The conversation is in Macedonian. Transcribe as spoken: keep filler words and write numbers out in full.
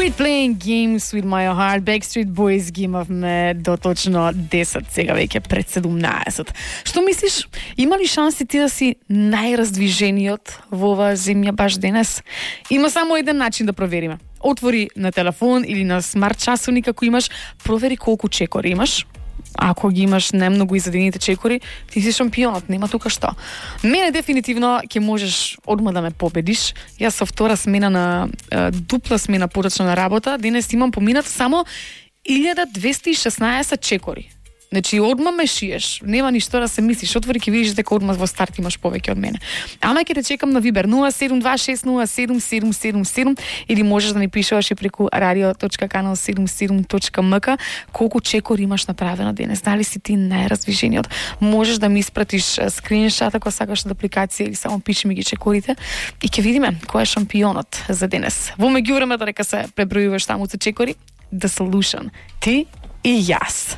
Quit playing games with my heart. Backstreet Boys ги имавме до точно десет, сега веќе пред седумнаесет. Што мислиш, има ли шанси ти да си најраздвижениот во оваа земја баш денес? Има само еден начин да провериме. Отвори на телефон или на смарт часовник ако имаш, провери колку чекори имаш. Ако ги имаш немногу изедените чекори, ти си шампионот, нема тука што. Мене дефинитивно ќе можеш одма да ме победиш. Јас со втора смена на е, дупла смена порачна работа, денес имам поминато само илјада двесте и шеснаесет чекори. Значи, одма ме шиеш, нема ништо да се мислиш, отвори ќе видиш дека одма во старт имаш повеќе од мене. Ама ќе те чекам на Вибер нула седум два шест нула седум седум седум седум или можеш да ми пишеш и преку радио точка канал седумдесет и седум точка ем ка колку чекори имаш направено денес, дали си ти најраздвижениот. Можеш да ми испратиш скриншот ако сакаш од апликација или само пиши ми ги чекорите и ќе видиме кој е шампионот за денес. Во меѓувреме додека се пребројуваш таму со чекори, The Solution, ти и јас.